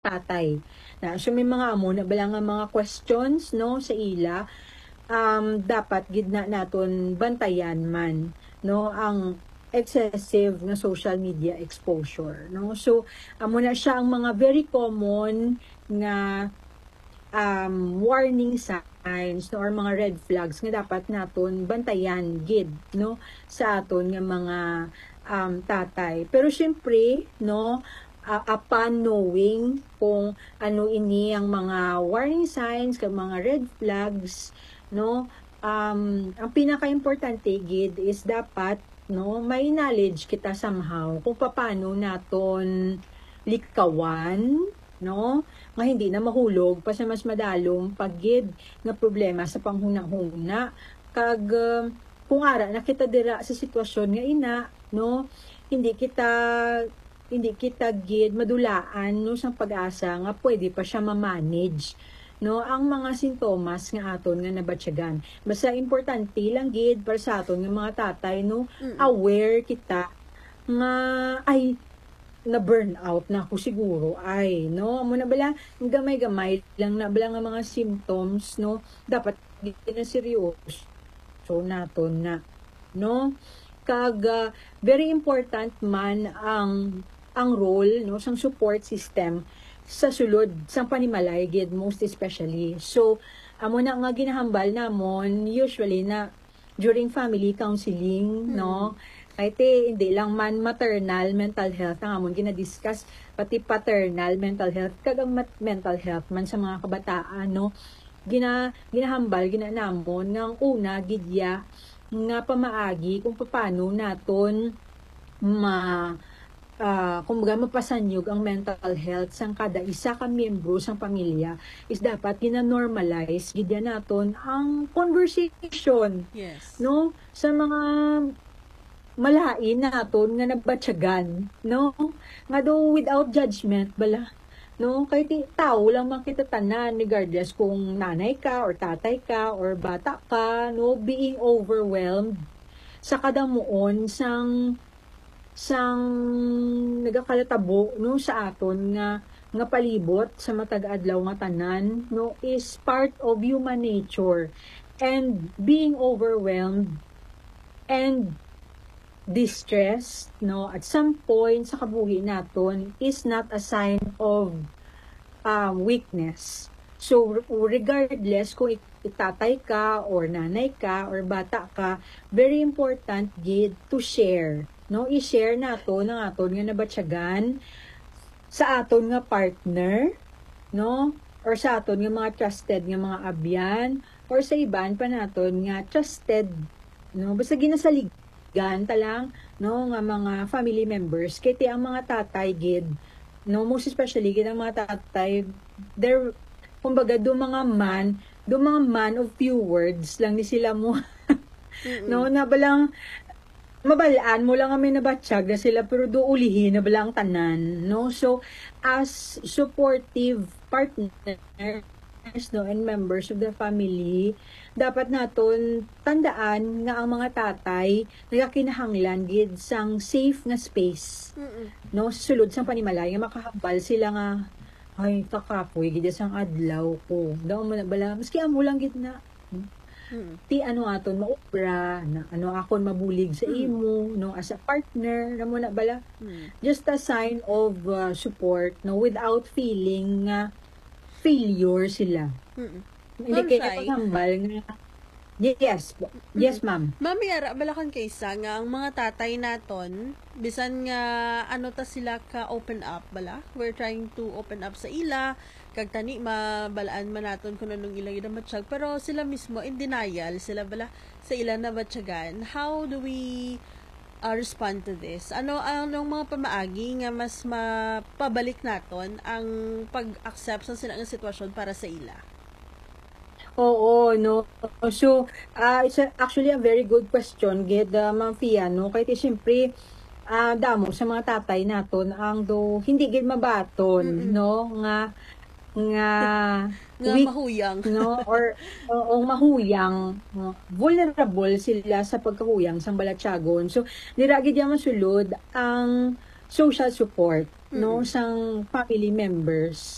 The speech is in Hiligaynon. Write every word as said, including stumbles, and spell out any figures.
tatay. Na, so may mga amo na bala nga mga questions, no, sa ila, um, dapat gid na naton bantayan man, no, ang excessive nga social media exposure, no. So amo na siya ang mga very common nga, um, warning signs, no, or mga red flags nga dapat naton bantayan gid, no, sa aton nga mga, um, tatay. Pero syempre, no, uh, upon knowing kung ano ini ang mga warning signs kag mga red flags, no, um, ang pinakaimportante gid is dapat, no, may knowledge kita somehow kung paano naton likawan, no, nga hindi na mahulog pa sa mas madalom pa gid nga problema sa panghunahuna. Kag, uh, kung ara na kita dira sa sitwasyon nga ina, no, hindi kita, hindi kita gid madulaan, no, sang pag-asa nga pwede pa siya ma-manage, no, ang mga sintomas nga aton nga nabatyagan. Basta importante lang gid para sa aton nga mga tatay, no, Mm. aware kita nga, ay, na-burn out na ako siguro, ay, no? Amo na bala, gamay-gamay lang na bala nga mga symptoms, no? Dapat gid na seryoso naton na, no? Kag, ah, very important man ang, ang role, no, sang support system sa sulod sang panimalay gid, most especially. So, amo na nga ginahambal namon usually na during family counseling, no? Kay ti, hindi lang man maternal mental health ang amon ginadiscuss, pati paternal mental health, kag ang mat-, mental health man sa mga kabataan, no? Gina-, ginahambal gid na namon nga ang una gid ya nga pamaagi kung paano naton ma-, ah, kumbaga, mapasanyog ang mental health sang kada isa ka miyembro sang pamilya is dapat gina-normalize gid ya naton ang conversation, Yes. no? Sa mga malain naton nga nabatyagan, no? Nga do without judgment bala, no? Kay ti-, tao lang man kita tanan, regardless kung nanay ka or tatay ka or bata ka, no? Being overwhelmed sa kadamuon sang, sang nagakalatabo, no, sa aton nga, nga palibot sa matag adlaw nga tanan, no, is part of human nature. And being overwhelmed and distressed, no, at some point sa kabuhi naton is not a sign of, um, weakness. So, re-, regardless kung ik-, tatay ka or nanay ka or bata ka, very important gid to share, no? I-share nato ang aton nga nabatyagan sa aton nga partner, no? Or sa aton nga mga trusted nga mga abyan, or sa iban pa naton nga trusted, no? Basta ginasaligan ta lang, no, nga mga family members. Kay ti ang mga tatay gid, no, most especially gid ang mga tatay, they're, kumbaga, do mga man, do mga man of few words lang ni sila mo. Mm-mm. No, na balang mabal-an mo lang nga may nabatyag na sila, pero do ulihi na bala ang tanan, no? So, as supportive partners, no, and members of the family, dapat naton tandaan nga ang mga tatay nagakinahanglan gid sang safe nga space, Mm-mm. no, sulod sang panimalay nga makahambal sila nga, "Ay, kakapoy gid sang adlaw ko." Daw mo na bala, maski amo lang gid na, Mm. ti ano aton maobra, na ano akon mabulig sa Mm. imo, no, as a partner, na mo na bala. Mm. Just a sign of, uh, support, no, without feeling nga failure sila. Mm. Hindi Ma'am kaya Shai. Paghambal nga, yes po. Yes, ma'am. Ma'am, may ara bala kang kaysa nga ang mga tatay naton, bisan nga ano ta sila ka open up bala, we're trying to open up sa ila, kag tani mabalaan man naton kung anong ila ginamatsyag, pero sila mismo in denial sila bala sa ila nabatyagan. How do we, uh, respond to this? Ano, anong mga pamaagi nga mas mapabalik naton ang pag-accept sa sila nga sitwasyon para sa ila? Oo, no. So, ah, it's a, actually a very good question gid, ah, Ma'am Fia, no? Kay ti, siyempre, ah, damo sa mga tatay naton ang do hindi gid mabaton, Mm-mm. no, nga, nga Nga weak, mahuyang. no, or, o, o mahuyang, no? Vulnerable sila sa pagkahuyang sang balatyagon. So, dira gid yan masulod ang social support, no, sang family members.